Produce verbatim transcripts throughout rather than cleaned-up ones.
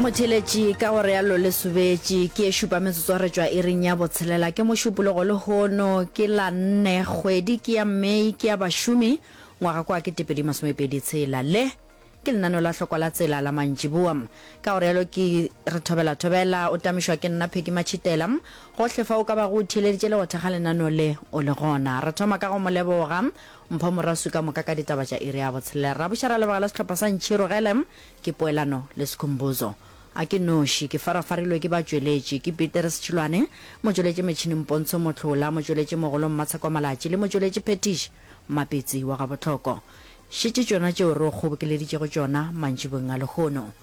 Motheeletši, ka go realo le sobetše, ke e šupa metsotso re tšwa iring ya botshelela. Ke Mošupologo lehono, ke la nne, kgwedi ke ya May, ke ya bašomi, ngwaga kwa ketepedi masomepedi tshela. Le ke lenaneo la Hlokwa la Tsela la mantšiboa. Ka go realo ke re thobela thobela, o tamišwa ke nna Peggy Matšhitela. Gohle fa o ka bago o theeleditše le go thekga lenaneo le o le gona. Re thoma ka go mo leboga Mpho Moraswi ka moka ka ditaba tša iri ya botshelela. Ra buša ra leboga le sehlopha sa Ntšhirogele, ke Poelano le Skhumbuzo. A ke noši, ke farafarilwe ke batšweletši, ke Peterus Tšhilwane, motšweletši metšhineng Pontsho Mohlola, motšweletši mogolo Mmatsheko Malatši le motšweletši phethiši Mmapetsi wa Gabohloko. Šetše tšona tšeo re o kgobokeleditšego tšona mantšiboeng a lehono.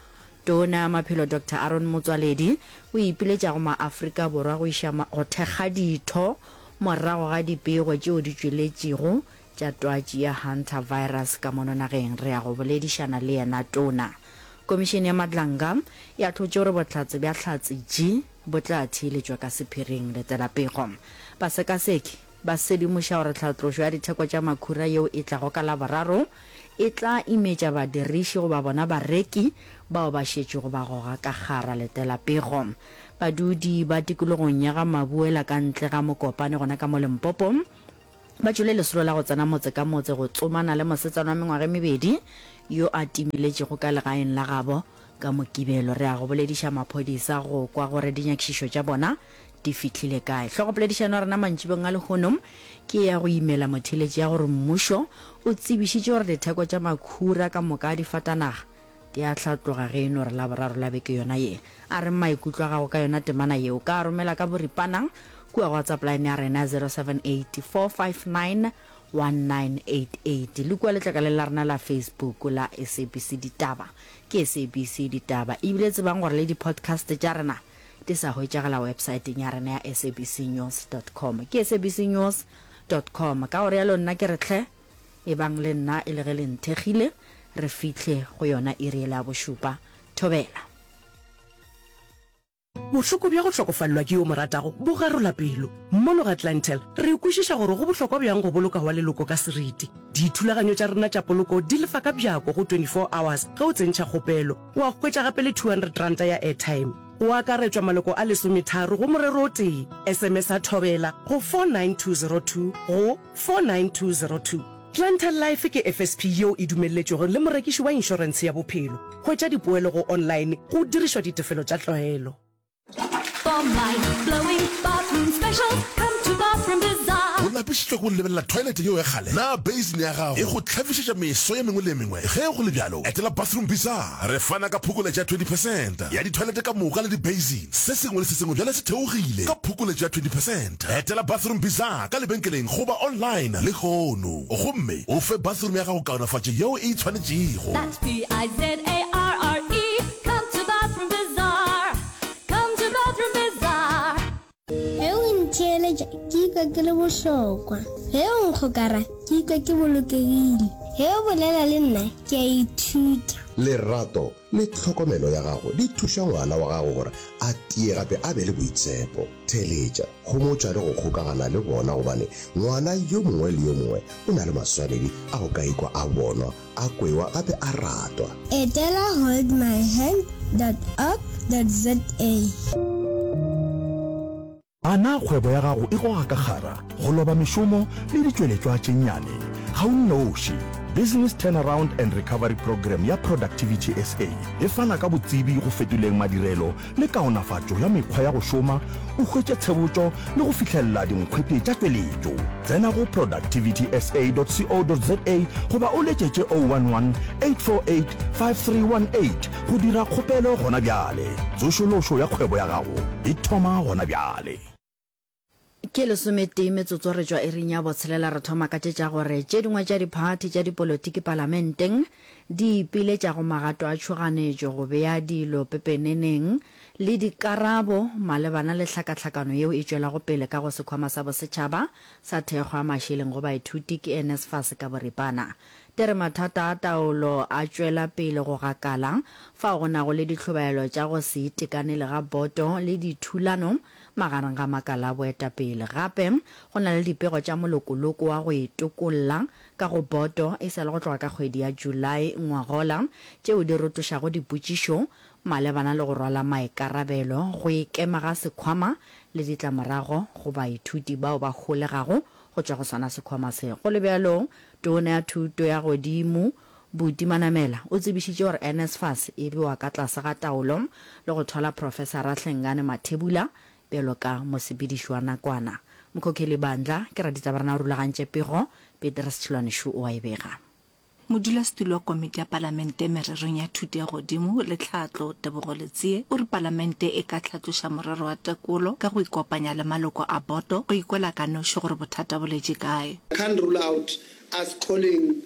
Tona ya Maphelo Doctor Aaron Motsoaledi o ipiletša go maAfrika Borwa go iša go thekga ditho morago ga dipego tšeo di tšweletšego tša twatši ya Hantavirus ka mono nageng. Re ya go boledišana le yena Tona. Komišene ya Madlanga e ahlotše gore bohlatse bja Hlatse G bo tla theeletšwa ka sephiring. Letela pego. Basekaseki ba sedimoša gore tlhatlošo ya ditheko tša makhura yeo e tlago ka Laboraro e tla imetša badiriši goba bona bareki bao ba šetšego ba goga ka kgara. Letela pego. Badudi ba tikologong ya ga Mabuela ka ntle ga Mokopane gona ka mo Limpopo ba tšwele lesolo la go tsena motse ka motse go tsomana le mosetsana wa mengwaga e mebedi yo a timeletšego ka legaeng la gabo ka Mokibelo. Re ya go bolediša maphodisa go kwa gore dinyakišišo tša bona di fihlile kae. Hlogopoledišano ya rena mantšibong a lehono ke ya go imela motheeletši ya gore mmušo o tsebišitše gore ditheko tša makhura ka moka a difatanaga di a hlatloga ge e no re Laboraro la beke yona ye. A reng maikutlo a gago ka yona temana ye? O ka a romela ka boripana kua go WhatsApp line ya rena zero seven eight four five nine one nine eight eight le kua letlakaleng la rena la Facebook la S A B C Ditaba. Ke S A B C Ditaba. Ebile tsebang gore le di-podcast tša rena di sa hwetšagala websaeteng ya rena ya S A B C news dot com. Ke S A B C news dot com. Ka go realo nna ke re hle, ebang le nna e le ge le nthekgile, re fihle go yona iri yela ya bošupa. Thobela. Bohloko bja go hlokofalelwa ke yo o mo ratago bo garola pelo. Mono ga Clientele, re kwešiša gore go bohlokwa bjang go boloka wa leloko ka seriti. Dithulaganyo tša rena tša poloko di lefa ka bjako go twenty four hours ge o tsentšha kgopelo. Wa hwetša gape le two hundred ranta ya airtime. Go akaretšwa maloko a lesometharo go morero o tee. S M S a Thobela go four nine two zero two go four nine two zero two. Clientele Life ke F S P yeo e dumelletšwego le morekiši wa inšorentshe ya bophelo. Hwetša dipoelo go online go dirišwa ditefelo tša tlwaelo. O lapišitšwe ke go lebelela toilet yeo ya kgale? Na basin ya gago e go hlafišetša meso ye mengwe le ye mengwe? Ge go le bjalo, etela Bathroom Bizarre. Re fana ka phokoletšo ya twenty percent ya ditoilet ka moka le di-basin. Se sengwe le se sengwe bjale se theogile ka phokoletšo ya twenty percent. Etela Bathroom Bizarre ka lebenkeleng goba online lehono gomme o fe bathroom ya gago kaonafatšo yeo e e tshwanetšego. That's B I Z A R R E, come to Bathroom Bizarre, come to Bathroom Bizarre. Ge o ntheeletša ke ikwa ke le bohlokwa. Ge o nkgokara ke ikwa ke bolokegile. Ge o bolela le nna ke a ithuta. Lerato le tlhokomelo ya gago di thuša ngwana wa gago gore a tie gape a be le boitshepo. Theeletša, homotša le go kgokagana le bona gobane ngwana yo mongwe le yo mongwe o na le maswanedi a go ka ikwa a bonwa, a kwewa gape a ratwa. Etela holdmyhand dot org dot za. A na kgwebo ya gago e goga ka kgara, go loba mešomo le ditšweletšwa tše nnyane? Ga o nnoši. Business Turnaround and Recovery Programme ya Productivity S A e fana ka botsebi go fetoleng madirelo le kaonafatšo ya mekgwa ya go šoma, o hwetše tshebotšo le go fihlelela dinkgwete tša tšweletšo. Tsena go productivity S A dot co dot za goba o letšetše oh one one, eight four eight, five three one eight go dira kgopelo gona bjale. Tsošološo ya kgwebo ya gago e thoma gona bjale. Ke lesometee metsotso re tšwa iring ya botshelela re thoma ka tše tša gore tše dingwe tša diphathi tša dipolotiki palamenteng di ipiletša go magato a tšhoganetšo go bea dilo pepeneneng le dikarabo malebana le hlakahlakano yeo e tšwelago pele ka go Sekhwama sa Bosetšhaba sa Thekgo ya Mašeleng go Baithuti ke N S F A S ka boripana. Di re mathata a taolo a tšwela pele go gakala, fao go nago le dihlobaelo tša go se itekanele ga boto le dithulano magareng ga makala a boetapele. Gape go na le dipego tša molokoloko wa go itokolla ka go boto e sa le go tloga ka kgwedi ya July ngwagola, tšeo di rotošago dipotšišo malebana le go rwala maikarabelo, go ikema ga sekhwama le ditlamorago go baithuti bao ba holegago go tšwa go sona sekhwama se. Go le bjalo, Tona ya Thuto ya Godimo, Buti Manamela, o tsebišitše gore NSFAS e bewa ka tlase ga taolo le go thwala Profesara Hlengani Mathebula bjalo ka mosepediši wa nakwana. Mkhokheli Bandla ke raditabarena o rulagantše pego, Petrus Tšhilwane-Shu o a e bega. Modulasetulo wa Komiti ya Palamente Mererong ya Thuto ya Godimo le Tlhahlo, Tebogo Letsie, o re Palamente e ka hlatloša morero wa tekolo ka go ikopanya le maloko a boto go ikwela ka noši gore bothata bo letše kae. I can't rule out us calling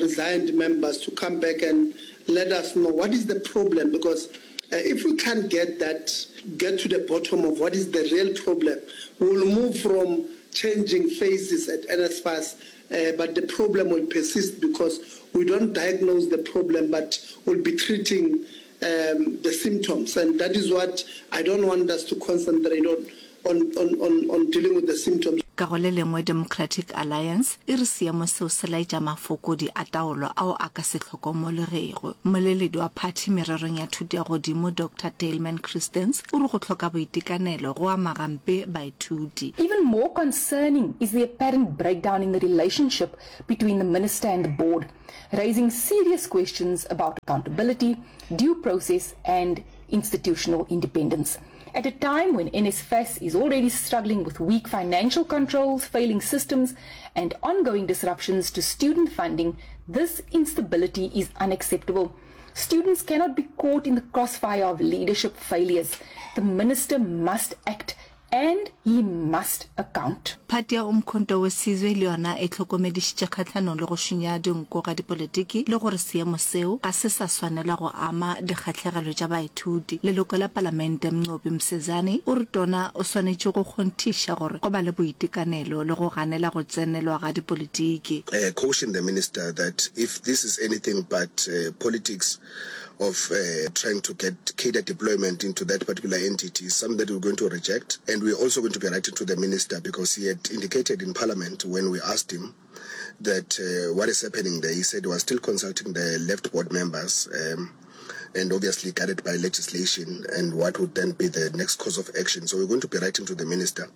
resigned members to come back and let us know what is the problem, because if we can't get that, get to the bottom of what is the real problem, we will move from changing faces at N S F A S, uh, but the problem will persist because we don't diagnose the problem, but we'll be treating um, the symptoms. And that is what I don't want us to concentrate on, on, on, on, on dealing with the symptoms. Ka go le lengwe, Democratic Alliance e re seemo seo se laetša mafokodi a taolo ao a ka se hlokomologego. Mmoleledi wa phathi mererong ya thuto ya godimo, Doctor Daleman Christens, o re go hloka boitekanelo go ama gampe baithuti. Even more concerning is the apparent breakdown in the relationship between the minister and the board, raising serious questions about accountability, due process and institutional independence. At a time when N S F A S is already struggling with weak financial controls, failing systems, and ongoing disruptions to student funding, this instability is unacceptable. Students cannot be caught in the crossfire of leadership failures. The minister must act and he must account. Phathi ya Umkhonto we Sizwe le yona e hlokomedišitše kgahlanong le go šunya dinko ga dipolitiki le gore seemo seo ga se sa swanela go ama dikgahlegelo tša baithuti. Leloko la Palamente Mnqobi Msezane o re tona o swanetše go kgonthiša gore go ba le boitekanelo le go ganela go tsenelwa ga dipolitiki. Uh, caution the minister that if this is anything but uh, politics of uh, trying to get cadre deployment into that particular entity is something that we're going to reject. And we're also going to be writing to the minister because he had indicated in Parliament when we asked him that uh, what is happening there, he said he was still consulting the left board members um, and obviously guided by legislation and what would then be the next course of action. So we're going to be writing to the minister,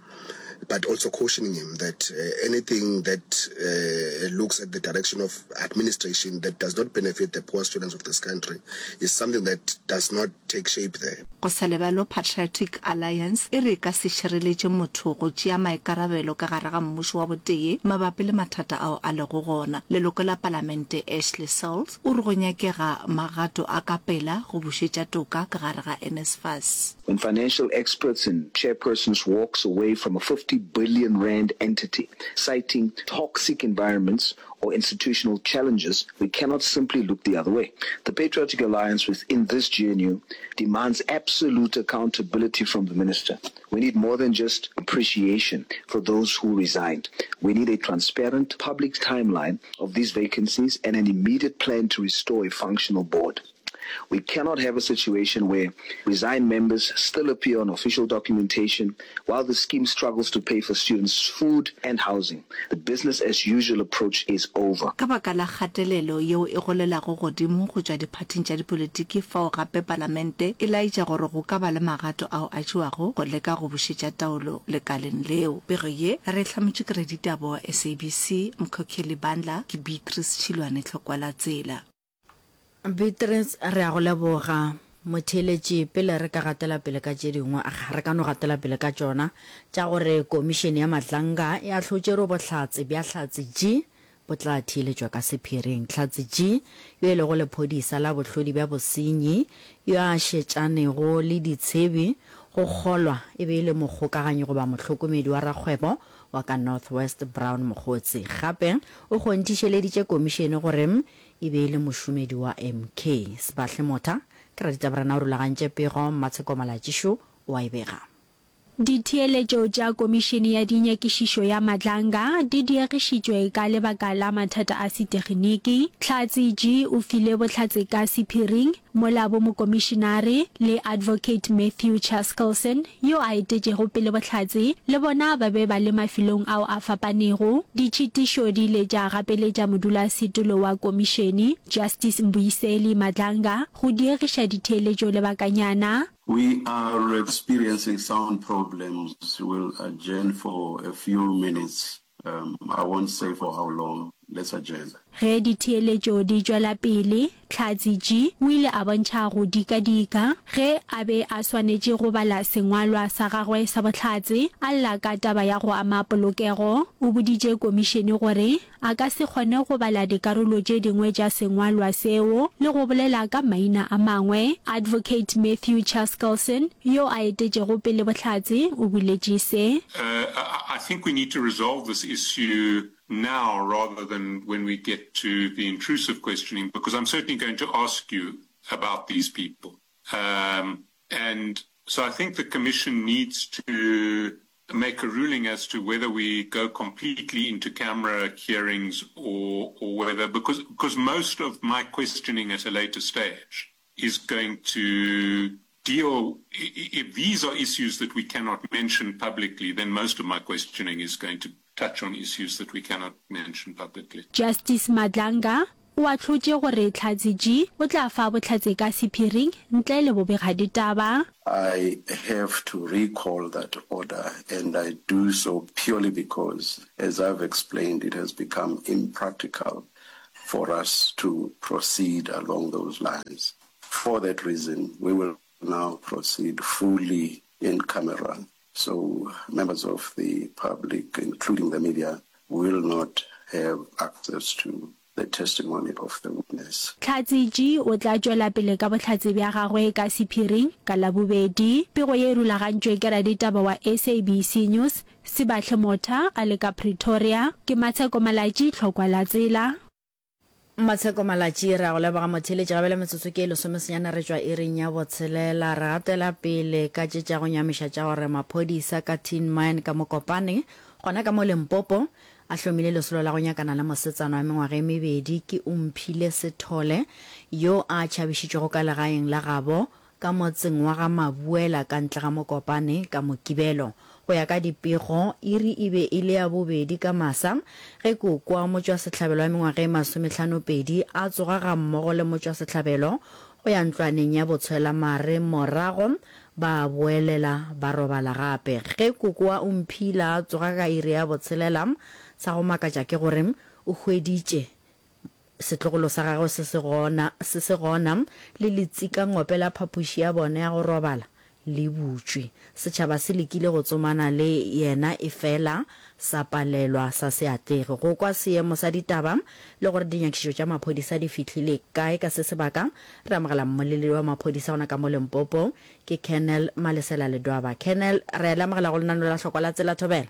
but also cautioning him that uh, anything that uh, looks at the direction of administration that does not benefit the poor students of this country is something that does not take shape there. Go sa le bjalo, Patriotic Alliance e re e ka se šireletše motho go tšea maikarabelo ka gare ga mmušo wa botee mabapi le mathata ao a lego gona. Leloko la Palamente Ashley Sauls o re go nyakega magato a ka pela go bušetša toka ka gare ga N S F A S. When financial experts and chairpersons walks away from a fifty billion rand entity, citing toxic environments or institutional challenges, we cannot simply look the other way. The Patriotic Alliance within this G N U demands absolute accountability from the minister. We need more than just appreciation for those who resigned. We need a transparent public timeline of these vacancies and an immediate plan to restore a functional board. We cannot have a situation where resigned members still appear on official documentation while the scheme struggles to pay for students' food and housing. The business as usual approach is over. Ka baka la kgatelelo yeo e golelago godimo go tšwa diphathing tša dipolitiki fao gape Palamente e laetša gore go ka ba le magato ao a tšewago go leka go bušetša taolo lekaleng leo. Pego ye re e hlametšwe ke raditaba wa S A B C Mkhokheli Bandla, ke Beatrice Tšhilwane Tlhokwalatsela. Beatrice, re a go leboga. Motheeletši, pele re ka gatela pele ka tše dingwe, aga, re ka no gatela pele ka tšona, tša gore Komišene ya Madlanga e ahlotše gore bohlatse bja Hlatse G bo tla theeletšwa ka sephiring. Hlatse G, yo e lego lephodisa la bohlodi bja bosenyi, yo a šetšanego le ditshebi, go kgolwa e be e le mokgokaganyi goba mohlokomedi wa rakgwebo wa ka North West Brown Mogotsi. Gape o kgonthišeleditše komišene gore e be e le mošomedi wa M K. Sebahle Motha ke raditabarena o rulagantše pego, Mmatsheko Malatšišo o a e bega. Ditheeletšo tša Komišene ya Dinyakišišo ya Madlanga di diegišitšwe ka lebaka la mathata a seteginiki. Hlatse G o file bohlatse ka sephiring, mola bomokomišenare le Advocate Matthew Chaskalson yo a etetšego pele bohlatse le bona ba be ba le mafelong ao a fapanego. Ditšhitišo di ile tša gapeletša modulasetulo wa komišene, Justice Mbuyiseli Madlanga, go diegiša ditheeletšo lebakanyana. We are experiencing sound problems, we'll adjourn for a few minutes, um, I won't say for how long, let's adjourn. Ge ditheeletšo di tšwela pele, Hlatse G o ile a bontšha go dikadika ge a be a swanetše go bala sengwalwa sa gagwe sa bohlatse, a lla ka taba ya go ama polokego. O boditše komišene gore a ka se kgone go bala dikarolo tše dingwe tša sengwalwa seo le go bolela ka maina a mangwe. Advocate Matthew Chaskalson, yo a etetšego pele bohlatse, o boletše se. Uh, I, I think we need to resolve this issue now rather than when we get to the intrusive questioning, because I'm certainly going to ask you about these people. Um, and so I think the commission needs to make a ruling as to whether we go completely into camera hearings or, or whether, because, because most of my questioning at a later stage is going to deal, if these are issues that we cannot mention publicly, then most of my questioning is going to touch on issues that we cannot mention publicly. Justice Madlanga o ahlotše gore Hlatse G o tla fa bohlatse ka sephiring ntle le bobegaditaba. I have to recall that order and I do so purely because, as I've explained, it has become impractical for us to proceed along those lines. For that reason, we will now proceed fully in camera. So members of the public, including the media, will not have access to the testimony of the witness. Hlatse G o tla tšwela pele ka bohlatse bja gagwe ka sephiring ka Labobedi. Pego ye e rulagantšwe ke raditaba wa S A B C News, Sibahle Motha a le ka Pretoria. Ke Matsheko Malatji, Tlhokwa la Tsela. Matsheko Malatji, re a go leboga motheeletši. Ga bjale metsotso ke e lesomesenyane re tšwa iring ya botshelela. Re gatela pele ka tše tša go nyamiša tša gore maphodisa ka Tin Mine ka Mokopane, gona ka mo Limpopo, a hlomile lesolo la go nyakana le mosetsana wa mengwaga e mebedi ke Omphile Sithole yo a tšhabišitšwego ka legaeng la gabo ka motseng wa ga Mabuela ka ntle ga Mokopane ka Mokibelo. Go ya ka dipego, iri e be e le ya bobedi ka masa ge koko wa motšwasehlabelo wa mengwaga e masomehlano-pedi a tsoga gammogo le motšwasehlabelo go ya ntlwaneng ya botshwelamare morago ba boelela ba robala gape. Ge koko wa Omphile a tsoga ka iri ya botshelela, sa go makatša ke gore o hweditše setlogolo sa gagwe se se gona, se se gona, le letsikangope la phapoši ya bona ya go robala le butšwe. Setšhaba se lekile go tsomana le yena efela sa palelwa sa se atlege. Go kwa seemo sa ditaba le gore dinyakišišo tša maphodisa di fihlile kae ka se sebaka, re amogela mmoleledi wa maphodisa gona ka mo Limpopo, ke Colonel Malesela Ledwaba. Colonel, re a le amogela go lenaneo la Hlokwa la Tsela Thobela.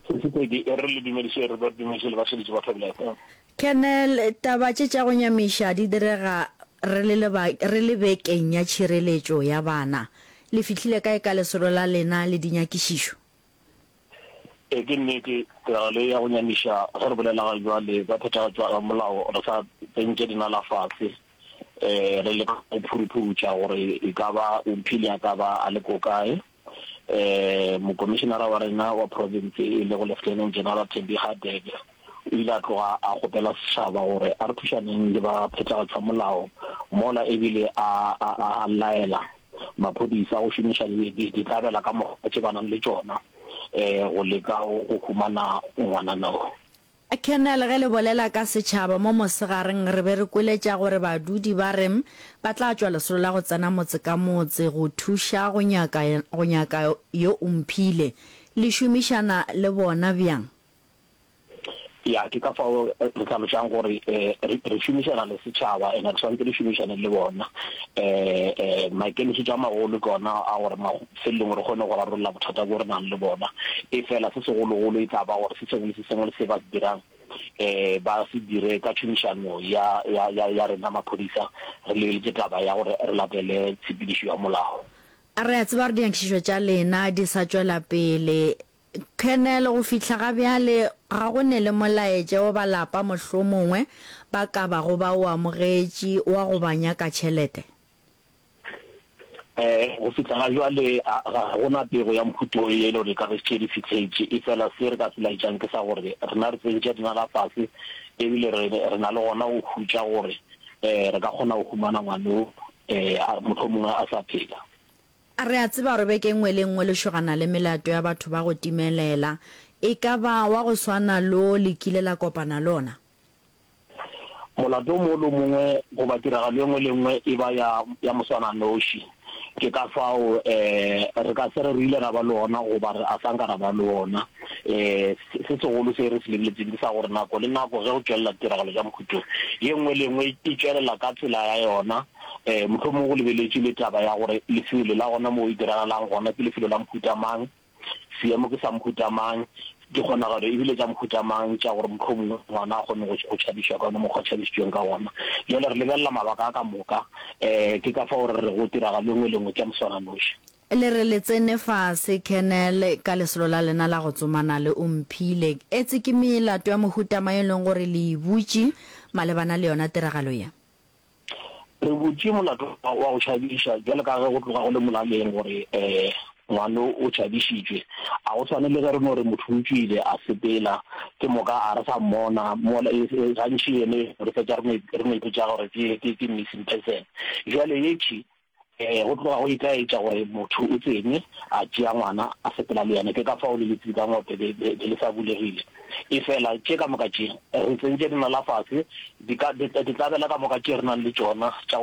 Sesipedi, e re le dumediše, re ba dumediše le bašeletši ba Thobela F M. Colonel, taba tše tša go nyamiša di direga re le leba, re le bekeng ya tšhireletšo ya bana. Le fihlile kae ka lesolo la lena le dinyakišišo? Ee, ke nnete, tiragalo ye ya go nyamiša, ge re bolela ga bjale ka phethagatšo ya molao, re sa tsentše dinala fase, um re leka go phuruphutša gore e ka ba Omphile a ka ba a le ko kae. Um Mokomišenara wa rena wa profense e lego Lieutenant General Thembi Hadebe o ile a tloga a kgopela setšhaba gore a re thušaneng le ba phethagatšwa molao mola ebile a, a, a, a laela maphodisa go šomiša ditlabela ka moka tše ba nang le tšona um go leka go humana ngwanana o. Colonel, ge le bolela ka setšhaba mo mosegareng re be re kweletša gore badudi ba re ba tla tšwa lesolo la go tsena motse ka motse go thuša go nyaka go nyaka yo Omphile. Le šomišana le bona bjang? Ya, ke ka fao re hlalošang gore re, re šomišana le setšhaba and re swanetše re šomišane le bona. Maikemišetšo a magolo ke ona a gore mafelelong re kgone go rarolla bothata bjo re nang le bona. Efela se segologolo e tla ba gore se sengwe le se sengwe se ba se dirang ba se dire ka tšhomišano ya, ya, ya, ya rena maphodisa, re lebeletše taba ya gore re latele tshepedišo ya molao. Re a tseba gore dinyakišišo tša lena di sa tšwela pele. Colonel, go fihla ga bjale ga go ne le molaetša wo ba lapa mohlomongwe ba ka bago ba o amogetše wa go ba nyaka tšhelete? Um go fihla ga bjale ga go na pego ya mohuta wo e le gore e ka be šetše di fihletše, efela se re ka se laetšang ke sa gore rena re tsentše dinala fase ebile re re na le gona go hutša gore um re ka kgona go humana ngwana o um mohlomongwe a sa phela. Re a tseba gore beke e nngwe le e nngwe le šogana le melato ya batho ba go timelela. E ka ba wa go swana le wo le kile la kopana le ona? Molato o mongwe le o mongwe goba tiragalo e nngwe le e nngwe e ba ya, ya moswananoši. Ke ka fao re ka se re re ile ra ba le ona goba re a sa nka ra ba le ona. Se segolo se re se lebeletseng ke sa gore nako le nako ge go tšwelela ditiragalo tša mohuta wo, ye nngwe le ye nngwe e tšwelela ka tsela ya yona. Mohlomongwe go lebeletšwe le taba ya gore lefelo la gona moo e diragalang gona ke lefelo la mohuta mang, seemo ke sa mohuta mang, dikgonagalo e bile tša mohuta mang tša gore mohlomongwe ngwana a kgone go tšhabišwa ka ona mokgwa a tšhabišitšweng ka gona. Bjale re lebelela mabaka a ka moka, ke ka fao re rego tiragalo e nngwe le e nngwe ke ya moswananoši. Le re le tsene fase, Colonel, ka lesolo la lena la go tsomana le Omphile. Etse ke melato ya mohuta mang e leng gore le e butše malebana le yona tiragalo ye? Re butše molato wa go tšhabiša bjalo ka ge go tloga go le molaleng gore ngwano o tšhabišitšwe. A go swane le ge re no re motho o tšwile a sepela ke moka a re sa mmona mola gantši yene re fetša re no ipotša gore ke missing person. Bjale yetši Go tloga go itaetša gore motho o tsene, a tšea ngwana, a sepela le yena. Ke ka fao le letsikangope be be le sa bulegile. Efela tše ka moka tše, re tsentše dinala fase, di ka, ditlabela ka moka tše re nang le tšona tša go.